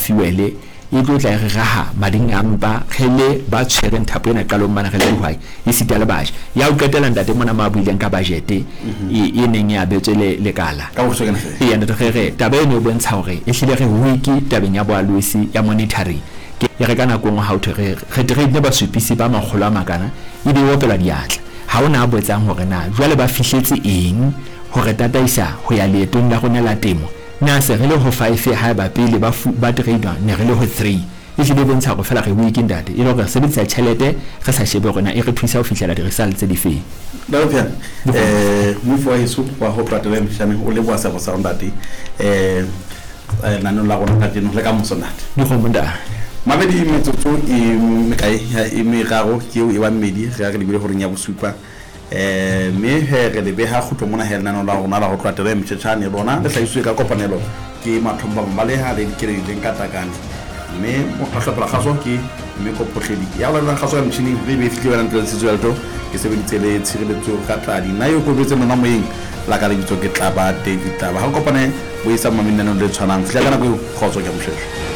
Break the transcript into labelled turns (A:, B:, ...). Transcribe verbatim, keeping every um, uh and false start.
A: fuel e tlo tla e re raha mading a mpa re le ba tshwereng thapo ena qalong mane re le dihwai e sita le batjha. Ya ho qetela ntate mona ma buileng ka budget e e neng e abetswe le lekala.
B: Ka bokgutshwanyane feela.
A: Eya ntate re re taba eno e bontsha hore e hlile re weak tabeng ya boalosi ya monitoring. Ke e re ka nako nngwe ha ho thwe re re train basupisi ba makgolo a makana ebe e opelwa diatla. Ha hona a botsang hore na jwale ba fihletse eng ho re tataisa ho ya leetong la rona la temo. Na se re le ho five haeba pele ba fu, ba trainwa ne re le ho three. E hlile e bontsha hore feela re weak ntate, e le hore re sebedisa tjhelete re sa shebe hore na e re thusa ho fihlela di-results tse difeng.
B: Ntate Phiane, eh moifo wa heso wa ho tloha taba ya Mshane o leboha seabo sa hao ntate. Eh lenaneong la rona kajeno le ka moso ntate.
A: Dikgomo ntate.
B: Mamedi metsotso e mekae e meraro ke eo e ba mmedi re ya re lebile horeng ya bosupa. Eh mme he re le beha kgutlo mona he lenaneong la rona la ho tloha taba ya Mtjhetjhane lona le hlahisitswe ka kopanelo ke Mathomba Mmaleha le Dikeledi le Nkatakane. Mme mohlopela kgaso ke mme Kophohledi ya laolang kgaso ya motjhining re be e fihle wena ntle le Setswelto ke sebeditse le tshireletso ka tladi nna yo kobetse lona moyeng la ka lebitso ke Tlaba David Tlaba. Ha re kopane bo isang mamenanong le tshwanang fihla ka nako eo kgotso ke moshweshwe.